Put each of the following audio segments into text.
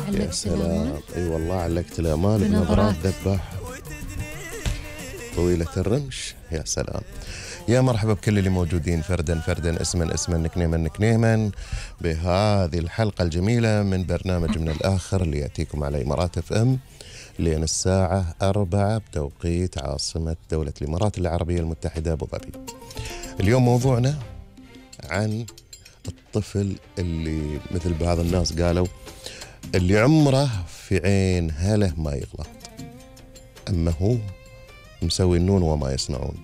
علقت الأمان. اي والله علقت الأمان بنظرات ذباح طويلة الرمش. يا سلام. يا مرحبا بكل اللي موجودين فردا فردا، اسما اسما، نكنيما نكنيما، بهذه الحلقة الجميلة من برنامج من الآخر اللي يأتيكم على إمارات اف ام لين الساعة 4 بتوقيت عاصمة دولة الإمارات العربية المتحدة أبو ظبي. اليوم موضوعنا عن الطفل اللي مثل بعض الناس قالوا اللي عمره في عين هله ما يغلط، أما هو مسوي النون وما يصنعون،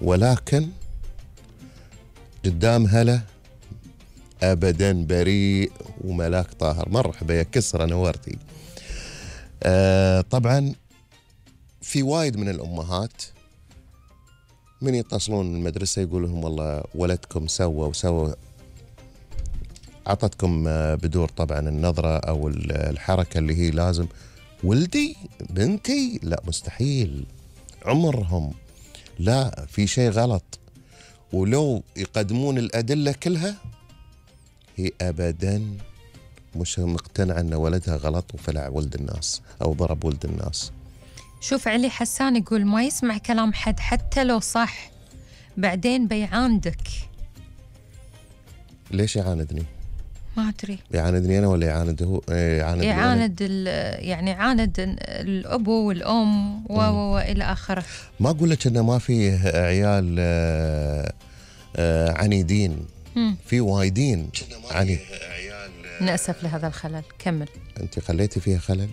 ولكن قدام هله أبدا بريء وملاك طاهر. مرحبا يا كسرة، نورتي. طبعا في وايد من الأمهات من يتصلون المدرسة يقول لهم والله ولدكم سوى وسوى، عطتكم بدور طبعا النظرة أو الحركة اللي هي لازم ولدي بنتي، لا مستحيل، عمرهم لا، في شيء غلط. ولو يقدمون الأدلة كلها هي أبدا مش مقتنعة أن ولدها غلط وفلع ولد الناس أو ضرب ولد الناس. شوف علي حسان يقول ما يسمع كلام حد حتى لو صح، بعدين بيعاندك. ليش يعاندني؟ ما أدري، يعاندني أنا ولا يعاند هو؟ يعاند يعني يعاند الأبو والأم وإلى آخره. ما أقول لك أنه ما في عيال عنيدين، في وايدين عنيد. نأسف لهذا الخلل. كمل. أنت خليتي فيها خلل؟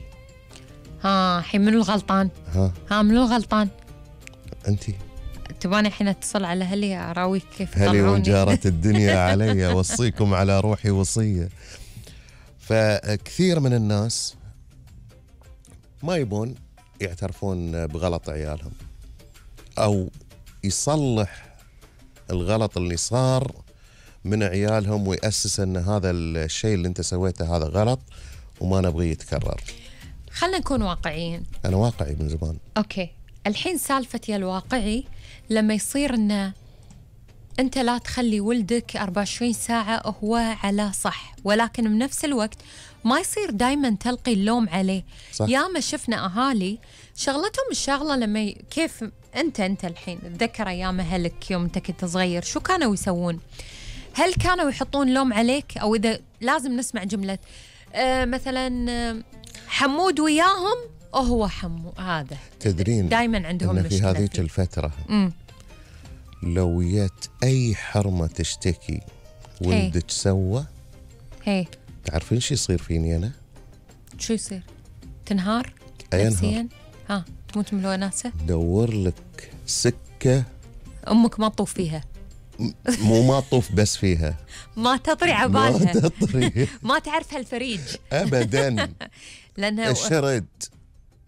حين منو الغلطان؟ منو الغلطان؟ أنت تباني حين اتصل على هلي أراويك كيف هلي وانجارت الدنيا علي، وصيكم على روحي وصية. فكثير من الناس ما يبون يعترفون بغلط عيالهم أو يصلح الغلط اللي صار من عيالهم ويأسس أن هذا الشيء اللي أنت سويته هذا غلط وما نبغي يتكرر. خلنا نكون واقعيين. أنا واقعي من زمان. أوكي، الحين سالفتي الواقعي لما يصير أنه أنت لا تخلي ولدك 24 ساعة هو على صح، ولكن بنفس الوقت ما يصير دايما تلقي اللوم عليه. صح. ياما شفنا أهالي شغلتهم الشغلة لما كيف أنت الحين تذكر أيام أهلك يوم أنت كنت صغير شو كانوا يسوون؟ هل كانوا يحطون لوم عليك؟ أو إذا لازم نسمع جملة مثلا حمود وياهم هو حمو، هذا تدرين دايما عندهم إن في هذيك الفترة لو جت أي حرمة تشتكي ولدك سوى، تعرفين شو يصير فيني أنا؟ شو يصير؟ تنهار نفسيا؟ تموت من الوناسة؟ دور لك سكة أمك ما تطوف فيها. مو ما تطوف بس فيها، ما تطري عبالها، ما تطري ما تعرف هالفريج أبدا. لأنها الشرد.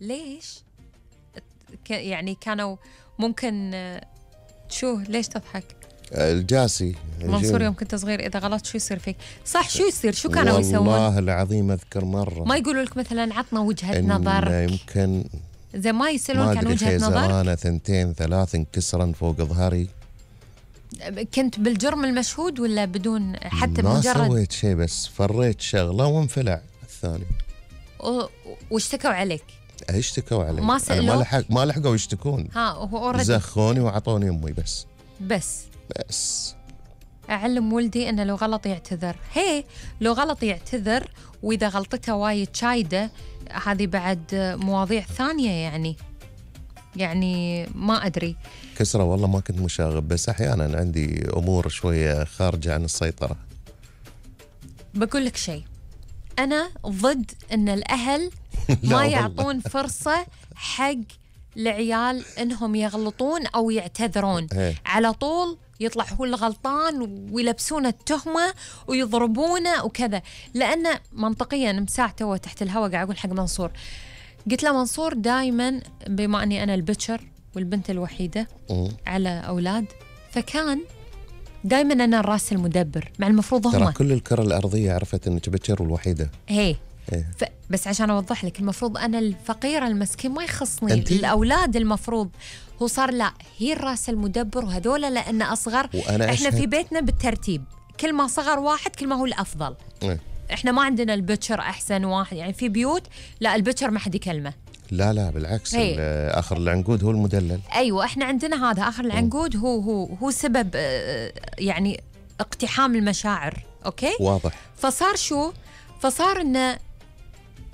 ليش؟ يعني كانوا ممكن ليش تضحك؟ الجاسي منصور يوم كنت صغير إذا غلط شو يصير فيك؟ صح، شو يصير؟ شو كانوا يسوون؟ والله العظيم أذكر مرة ما يقولوا لك مثلا عطنا وجهة نظر، يمكن زي ما يسألونك عن وجهة نظر. أنا 2 3 انكسرا فوق ظهري. كنت بالجرم المشهود ولا بدون حتى ما مجرد؟ ما سويت شيء، بس فريت شغلة وانفلع الثاني. واشتكوا عليك؟ اشتكوا علي، ما سألوك؟ ما لحقوا يشتكون. زخوني وعطوني أمي بس أعلم ولدي أنه لو غلط يعتذر. لو غلط يعتذر، وإذا غلطته وايد شايدة هذه بعد مواضيع ثانية. يعني ما أدري. كسرة والله ما كنت مشاغب، بس أحيانا عندي أمور شوية خارجة عن السيطرة. بقول لك شيء، أنا ضد أن الأهل ما يعطون فرصة حق العيال إنهم يغلطون أو يعتذرون. على طول يطلع هو الغلطان ويلبسون التهمة ويضربونه وكذا. لأن منطقيا مساعته وتحت الهواء قاعد أقول حق منصور، قلت له منصور دايما بما أني أنا البتشر والبنت الوحيدة على أولاد، فكان دايما أنا الراس المدبر، مع المفروض هم ترى كل الكرة الأرضية عرفت أنك بتشر والوحيدة. بس عشان أوضح لك، المفروض أنا الفقيرة المسكين ما يخصني الأولاد، المفروض هو صار لا، هي الراس المدبر وهذولا لأن أصغر. إحنا في بيتنا بالترتيب، كل ما صغر واحد كل ما هو الأفضل. احنا ما عندنا البتشر احسن واحد، يعني في بيوت لا البتشر ما حد يكلمه. لا بالعكس، آخر العنقود هو المدلل. ايوه احنا عندنا هذا آخر العنقود هو سبب يعني اقتحام المشاعر. اوكي واضح. فصار انه